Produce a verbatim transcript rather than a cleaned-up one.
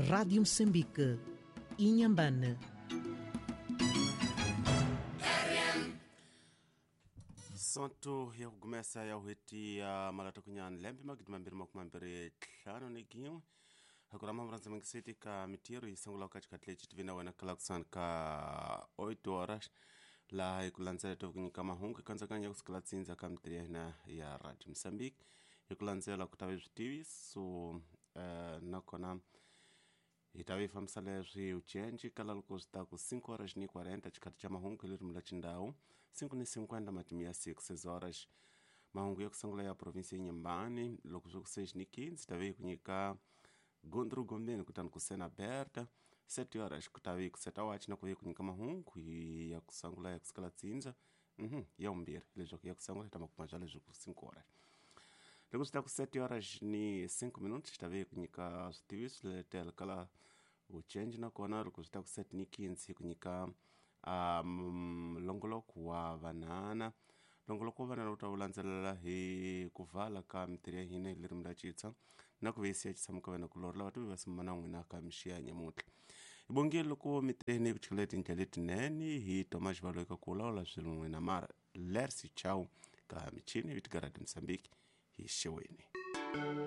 Rádio Moçambique, Inhambane. Sonto ya kugumesa ya hweti ya malata kunyani lembe magidi mambiri makumi mambiri ntlhanu ni gin'we hakurama murandza mangiseti ka mitiro yi sungula ka xikhathi lexi tivina wena kalakusani ka oito horas laha hi ku landzela to ku nyika mahungu kantsakanya ya kusukela tsindza ka mitiri ya hina ya Radio Mozambique hi ku landzela ku ta ve switiviso uh, nakona hi ta ve fambisa leswi ucenji kala loko swi ta ku cinco horas ni quarenta xikhathi xa mahungu hi ririmi ra xindhawu cinco ni cinquenta matimu ya six horas mahungu ya ku sungula ya provinsi ya Inhambane loko swi ku seis ni quinze ta ve hi ku nyika Gondro Gombeni kutani ku sena Berta sete horas ku ta ve ku seta wachi na ku ve ku nyika mahungu ya ku sungula ya ku sikala tsindza mhm ya vumbirhi leswaku ya ku sungula ta makuma bya leswaku cinco horas loko swi ta ku sete horas ni cinco minutos ta ve ku nyika switiviso letela kala vucenji nakona loko swi ta ku sete ni quinze hi ku nyika um longoloko wa vanana longoloko wa vanana wu ta wu landzelela hi ku vala ka mitirho ya hina hi ririmi ra xitsonga na ku veyisiya xitshamo ka wena kulorhi lava tiva va na n'wina ka mixiya nyamuntlha hi bongile loko miteni ku chikela tindlela letinene hi toma xivalo eka ku lawula swilo n'wina mara lersi chau ka michini vitikarati Mozambique hi xeweni.